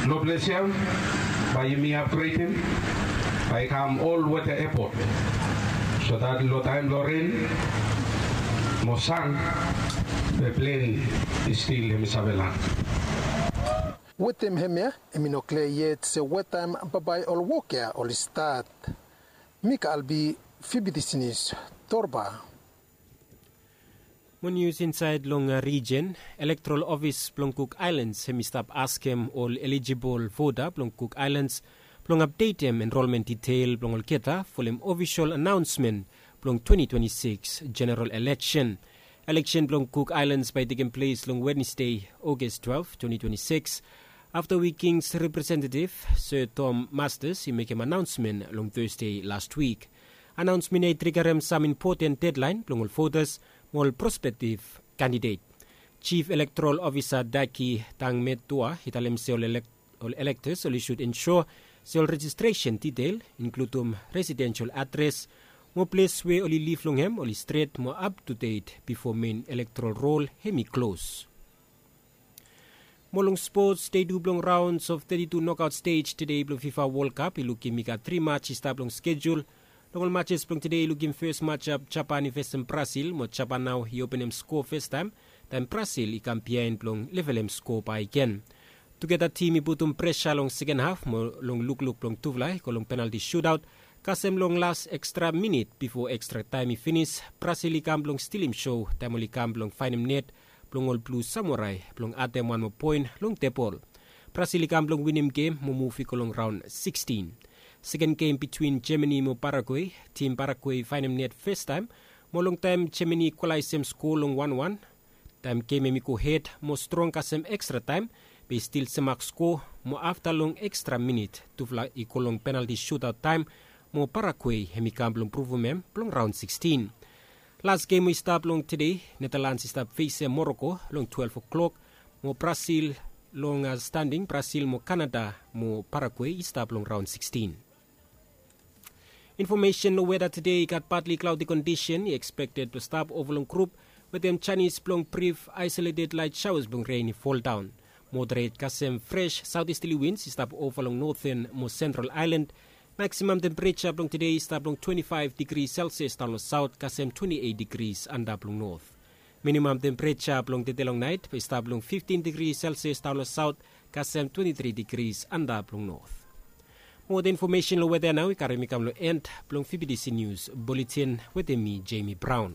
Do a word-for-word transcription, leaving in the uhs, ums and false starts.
Lo ples ya bae yumi apgredim bae i kam ol weta epot, so dat lo taem blo ren mo san be plen i stil hem i save lan. Wetem hemia hem i no klia yet se wetaem bambae ol wok ya oli stat. Mika albi fibidis nius torba. Mo nius insaed long rijen, elektorol ofis blong Kuk Aelans hem i stap askem ol elijibol vota blong Kuk Aelans blong apdetem enrolmen ditel blong olgeta folem ofisol anaonsmen blong twenti twenti sikis jeneral eleksen. Eleksen blong Kuk Aelans bae i tekem ples long Wednesde, Ogas twelef, twenti twenti sikis, afta we Kings representetiv Sir Tom Masters i mekem anaonsmen long Tasde lastwik. Anaonsmen ya i trigarem sam impoten dedlaen blong ol votas mo ol prospektiv kandidet. Jif Elektorol Ofisa Daki Tangmetua i talem se ol elektas oli sud ensua se ol rejistresen ditel, inkludum residensel adres mo ples we oli liv long hem oli stret mo aptudet bifo men elektorol rol hem i klos. Mo long spots, dei tu blong raons of teti tu nokaot stej tede blong fifa wolkap i lukim i gat tri mats i stap long skejul. Long ol matses blong tede i lukim fes matsap japan i fesem brasil mo japan nao i openem sko festaem, taem brasil i kam biaen blong levelem sko bakegen. Tugeta tim i putum presa long seken haf mo long lukluk blong tufala i go long penalti sutaot, kasem long las ekstra minit bifo ekstra taem i finis brasil i kam blong stilim so taem oli kam blong faenem net blong ol blu samurai blong adem wan moa poen long tebol. Brasil i kam blong winim gem mo muv i go long raon sikstin. Seken gem bitwin jemani mo paraguei, tim paraguei i faenem net festaem mo long taem jemani i kwalaesem sko long wanwan. Taem gem hem i go hed mo strong kasem ekstra taem, be i stil semak sko mo afta long ekstra minit tufala i go long penalti sutaot taem mo paraguei hem i kam blong pruvum hem blong raon sikstin. Las gem we i stap long tede, netalans i stap fesem moroko long twelef oklok, mo brasil long standing brasil mo kanada mo paraguei i stap long raon sikstin. Infomesen long weda tede i gat patli klaodi kondisen i ekspekted blong stap ova long grup wetem janis blong brif aesoleted laet saoas blong ren i foldaon. Moderet kasem fres saotisteli wins i stap ova long noten mo sentral aelan. Maksimam tempereja blong tede i stap long twenti faef digri selsias daon long saot kasem twenti eit digris antap long not. Minimam tempereja blong tede long naet bae i stap long fiftin digri selsias daon long saot kasem twenti tri digris antap long not. Moa infomesen long weda ya nao i karem i kam long en blong fibidisi nius buletin wetem mi jemi braon.